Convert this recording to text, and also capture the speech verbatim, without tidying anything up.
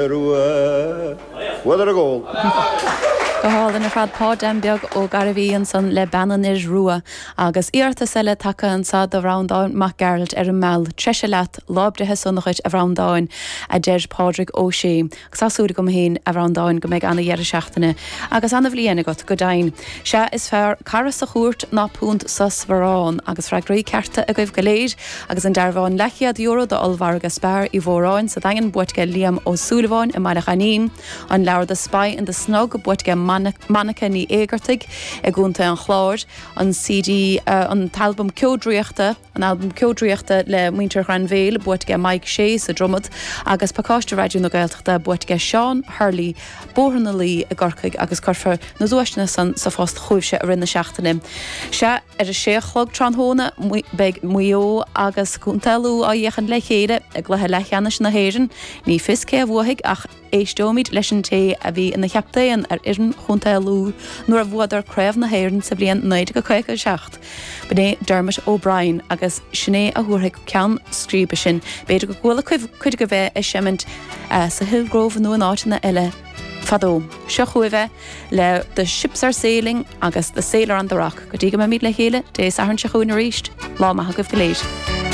Rua. Bhuadar a gcól. Go hálainn ar fad Pa Dan Beag Ó Gairbhí ansan le Bean an Fhir Rua agus iarratas eile tagtha anseo do Bhreandán Mac Gearailt ar an Meal treise leat lá breithe sona dhuit a Bhreandáin a deir Pádraig Ó Sé. Agus tá súil agam féin a Bhreandáin go mbeidh ana-dheireadh seachtaine agus ana-bhliain agat go deimhin. Sea is fearr cara sa chúirt ná punt sa sparán agus freagraí cearta agaibh go léir agus an dearbhán leathchéad euro d'ollmhargadh Spar Uí Mhóráin sa Daingean buaite ag Liam Ó Súilleabháin i mBaile Ghainín, an leabhar The Spy in the Snug buaite ag Monica Ní Éigeartaigh i gContae an Chláir, an CD uh, an t-albam Ceo Draíochta, an albam Ceo Draíochta le muintir Ghrainbhéil buaite ag Mike Shea sa Dromad agus pacáiste Raidió na Gaeltachta buaite ag Seán Hurley Bóthar na Laoi i gCorcaigh agus cuirfear na duaiseanna san sa phost chugaibhse i rith na seachtaine. Sea ar a sé a chlog tráthnóna beidh Maigh Eo agus Contae Lú á fhéachaint le chéile i gcluiche leathcheannais na hÉireann, ní fios cé a bhuafaidh ach éisteoimid leis an té a bhí ina chaptaen ar fhoireann Chontae Lú nuair a bhuadar Craobh na hÉireann sa bhliain naoi déag caoga a seacht. B'in é Dermot O'Brien agus sin é a thabharfaidh ceann scríbe sin, b'fhéidir go gcuala cuid agaibh é ag seimint sa Hillgrove nó in áiteanna eile fadó. Seo chugaibh é le The Ships Are Sailing agus The Sailor on the Rock, go dtí go mbeimid le chéile Dé Sathairn seo chugainn arís, lá maith agaibh go léir.